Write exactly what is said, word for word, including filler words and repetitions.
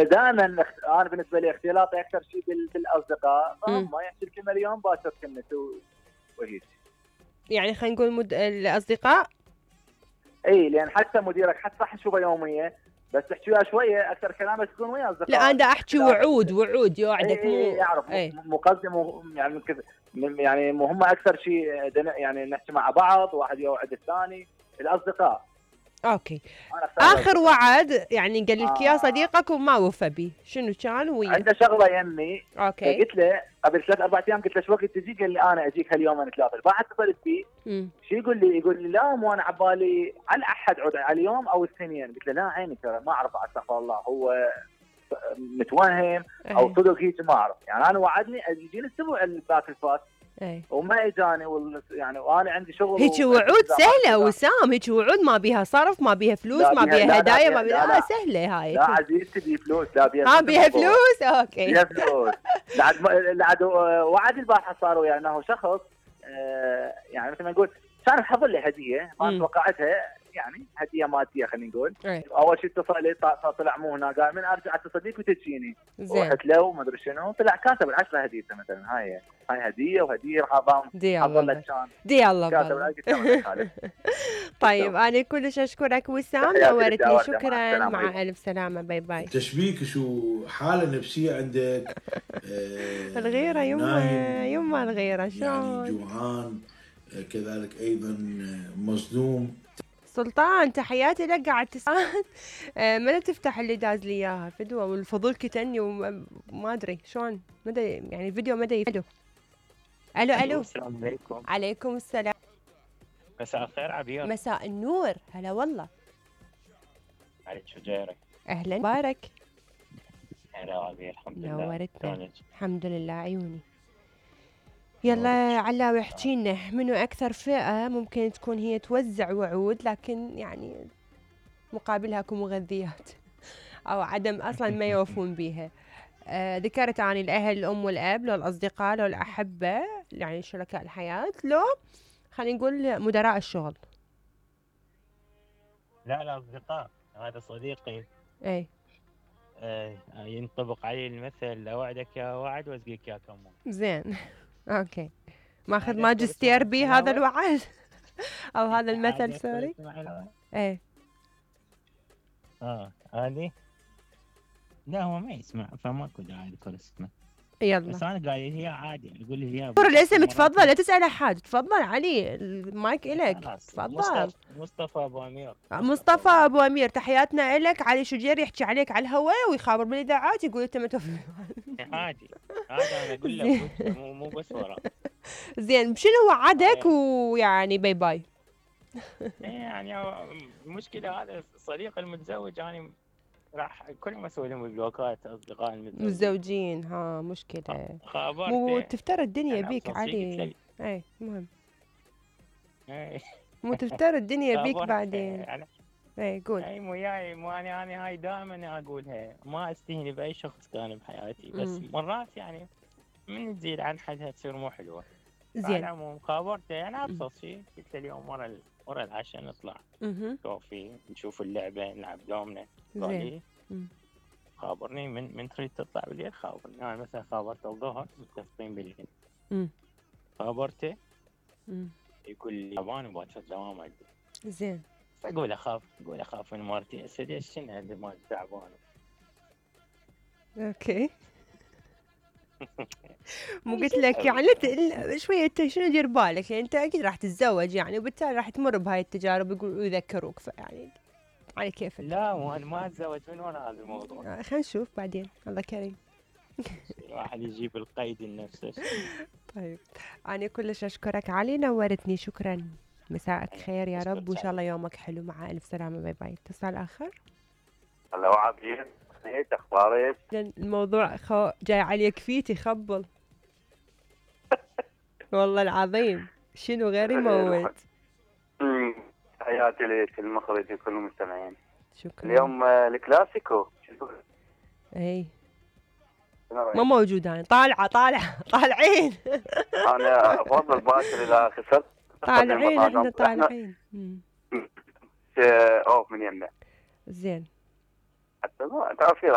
دائما انا بالنسبه لي اختلاطي اكثر شيء بالاصدقاء، ما يحكي الكلمه اليوم باكر كلمته وهيك. يعني خلينا نقول مد... الاصدقاء اي، لان حتى مديرك حتى صح تشوفه يوميا بس تحكي وياه شويه اكثر كلام بس تكون ويا اصدقائك. لا انا احكي وعود وعود يوعدك مو يعرف مقدم يعني كذا، يعني مهم اكثر شيء يعني نحكي مع بعض، واحد يوعد الثاني. الاصدقاء اوكي. اخر وعد يعني قال لك يا صديقك وما وفى به، شنو كان ويا؟ عنده شغله يمي. اوكي. قلت له قبل ثلاث اربع ايام، قلت له شو وقت تجي؟ قال لي انا اجيك هاليوم نتلاقى. بعد اتصلت فيه شو يقول لي؟ يقول لي لا مو انا عبالي على الاحد عود على اليوم او الاثنين. قلت له لا عيني ترى ما اعرف، استغفر الله، هو متوهم او صدق هيك ما اعرف. يعني انا وعدني يجيني الاسبوع الباك الفات اي وما اجاني وال... يعني وانا عندي شغل. هيك وعود سهله وسام، هيك وعود ما بيها صرف، ما بيها فلوس، ما بيها هدايا، ما بيها لا, لا, لا سهله هاي. لا عزيزتي بي فلوس، لا بيها ما بيها فلوس. اوكي بيها فلوس. لعد لعد وعد البارحه صار ويا انه شخص آه يعني مثل ما نقول كان حضر لي هديه ما توقعتها، يعني هديه ماديه خلينا نقول. أي. اول شيء اتصل لي طلع مو هنا، قال من ارجع اتصل بيك وتجيني. رحت له وما ادري شنو، طلع كاتب العشره هديته مثلا. هاي هاي هديه وهديه راح اضام حضر لك كان دي الله كاتب. طيب انا كلش اشكرك وسام، نورتني. شكرا، مع الف سلامه، باي باي. تشبيك شو حاله نفسيه عندك؟ آه الغيره يما يما الغيره شلون؟ يعني جوعان كذلك ايضا مصدوم. سلطان تحياتي لك، قاعد تساعد متى تفتح اللي داز لي اياها الفيديو والفضول كتني وما ادري شلون مدى يعني الفيديو مدى يفيدو. الو الو السلام عليكم. عليكم السلام. مساء الخير عبير. مساء النور، هلا والله. عليك شو جايرك؟ اهلا بارك. هلا عبير، الحمد لله. نورتنا. الحمد لله عيوني. يلا علاوي احكي لنا منو اكثر فئه ممكن تكون هي توزع وعود لكن يعني مقابلها اكو مغذيات او عدم اصلا ما يوفون بيها. آه ذكرت عن الاهل، الام والاب، لو الاصدقاء، لو الاحبه يعني شركاء الحياه، لو خلينا نقول مدراء الشغل. لا الاصدقاء، هذا صديقي. اي آه ينطبق عليه المثل اوعدك يا وعد واسقيك يا كمون. زين اوكي. ماخذ ماجستير بيه هذا الوعد او هذا المثل سوري. ايه اه هذه لا هو ما يسمع فماكو داعي لكل اسمه. يلا بس انا قال لي هي عادي، يقول لي هي قول الاسم. تفضل لا تسال احد، تفضل علي المايك الك. تفضل. مصطفى ابو امير. مصطفى ابو امير تحياتنا الك. علي شجير يحكي عليك على الهواء ويخابر بالاذاعات يقول انت ما توفي. عادي هذا انا اقول لك مو مو بس ورا. زين شنو وعدك ويعني باي باي؟ يعني المشكله هذا الصديق المتزوج يعني راح كل ما اسوي لهم بلوكات اصدقاء المتزوجين متزوجين. ها مشكله. خابرته مو تفترى الدنيا بيك علي. اي مهم. اي مو تفترى الدنيا بيك بعدين. اي قول. اي مو جاي مو انا انا هاي دائما اقولها، ما استهني باي شخص كان بحياتي، بس مم. مرات يعني من تزيد عن حدها تصير مو حلوه. زين. على العموم خابرته يعني ابسط شيء، قلت له اليوم ورا ورا العشاء نطلع كوفي نشوف اللعبه نلعب دومنا. قال لي خابرني من من تريد تطلع بالليل خابرني. انا يعني مثلا خابرته الظهر متفقين بالليل. خابرته يقول لي ياباني باكر دوام عندي. زين. فاقول اخاف اقول اخاف من مرتي اسد شنو هذا مال تعبان. اوكي. مو قلت لك يعني شويه انت شنو دير بالك، يعني انت اكيد راح تتزوج يعني وبالتالي راح تمر بهاي التجارب يقولوا يذكروك، فيعني على كيفك. لا وانا ما اتزوج من ورا هذا الموضوع. آه خلينا نشوف بعدين الله كريم. الواحد يجيب القيد لنفسه. طيب انا كلش اشكرك علي، نورتني. شكرا، مساءك خير يا رب وان شاء الله يومك حلو. مع الف سلامه، باي باي. اتصال اخر. هلا عبير، ايش اخبارك؟ الموضوع خو... جاي عليك فيتي خبل. والله العظيم شنو غير يموت. حياتي لك المخرج وكل المستمعين. شكرا. اليوم الكلاسيكو. اي ما موجود. انا طالعه طالعه طالعين. انا افضل باكر اذا خسرت. طالعين احنا طالعين. اوف من يمنا. زين. حتى تعرفي